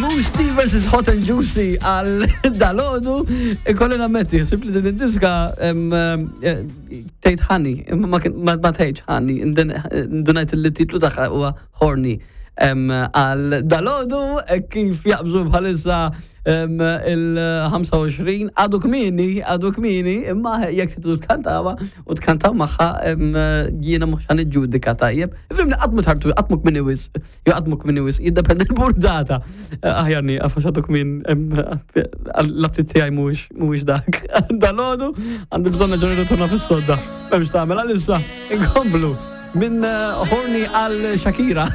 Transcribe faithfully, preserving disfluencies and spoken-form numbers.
Mousse T versus Hot and Juicy għal dalgħodu. Ikolli nammetti, simpli din id-diska eh, tgħid honey, imma ma kien- ma ma tgħidx honey, indunajt li titlu tagħha huwa Horny. Em, Għal dalgħodu eh, kif jaqbżu bħalissa em, il-ħamsa u għoxrin, għadu kmieni, għadu kmieni, imma jekk tridu tkantawa u tkantaw magħha, em, jiena mhux ħa niġġudika, tajjeb. Ifhimni, qatt mu tard, qatt mu kmieni wisq, jew qatt mu kmieni wisq, jiddependi l-burdata. Eh, Aħjar nieqaf għax għadu kmin, l-aptit tiegħi mhuwiex mhuwiex dak. Dalgħodu għandi bżonn nerġa' nirritorna fis-sodda. M'hemmx tagħmel għalissa, inkomplu minn eh, Horny għal Shakira.